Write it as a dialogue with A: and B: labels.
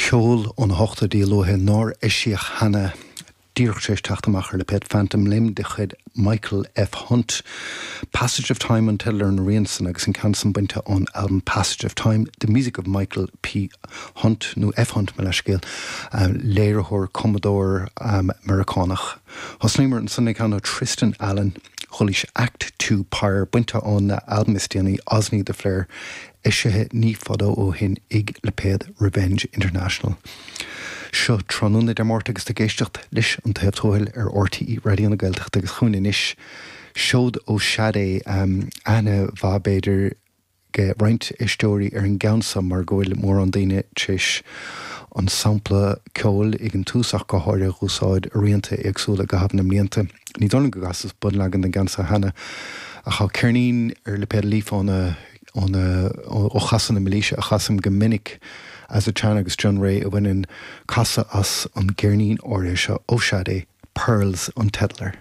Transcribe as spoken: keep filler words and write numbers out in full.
A: Ceol ó na hochtóidí luatha nár eisíodh cheana díreach tar éis teacht amach ar lipéad Phantom Limb de chuid Michael F. Hunt. Passage of Time an teideal ar an rian san agus an ceann san bainte ón album Passage of Time, The Music of Michael P. Hunt nó F. Hunt mo leithscéal, um, léiritheoir cumadóir um, Meiriceánach. Thosnaíomar ansan le ceann ó Tristan Allen, Chulis Act Two Pyre bainte ón album is déanaí Osney the Flare eisithe ní fada ó shin ag lipéad Revenge International. Seo tráthnóna Dé Máirt agus tú ag éisteacht leis an Taobh Tuathail ar RTÉ Raidió na Gaeltachta agus chugainn anois seod ó Sade um, aithne mhaith b'fhéidir ag roinnt éisteoirí ar an gceann seo mar go bhfuil mórán daoine tar éis an sampla ceoil ag an tús ach go háirithe a úsáid i rianta éagsúla i gcaitheamh na mblianta. Ní dóigh liom go gcasas bunleagan den gceann seo cheana ach tá ceirnín ar lipéad Leaf óna ó chasadh na Mílaoise a chasaim go minic Asa Chan agus John Ray a bhaineann casadh as an gceirnín áirithe seo ó Sade Pearls an teideal air.